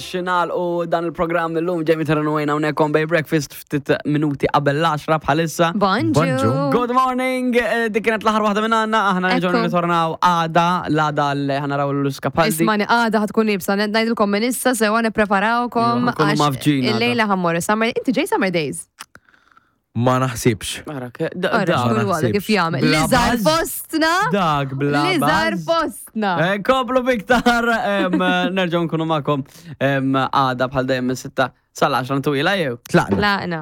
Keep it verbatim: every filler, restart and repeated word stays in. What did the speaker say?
Xinal u dan il-programm illum Jamie Terranwejna hawnhekk on Bay Breakfast ftit minuti qabel l-għaxra bħalissa. Bonġu. Bonġu. Good morning, eh, dik kienet l-aħħar waħda minn għandna, aħna nerġgħu Ekku. nirritornaw għada, l-għada li ħa naraw l-Skapaldi. Ismani, għada ħa tkun iebsa, ngħidilkom minn issa sewa nippreparawkom. Iva, ħa nkunu għax mafġin għada. Il-lejla ħa mmorru summer, inti ġej Summer Days. Ma naħsibx. Ara, ke- da- Ara, dak, xkull għada kif jagħmel. Bla Li żar baż. fostna. Dak bla Li żar baż. fostna. Eh, Komplu biktar, em, nerġgħu nkunu magħkom em, għada bħal dejjem minn sitta sal-għaxra twila jew. Tlaqna. Tlaqna.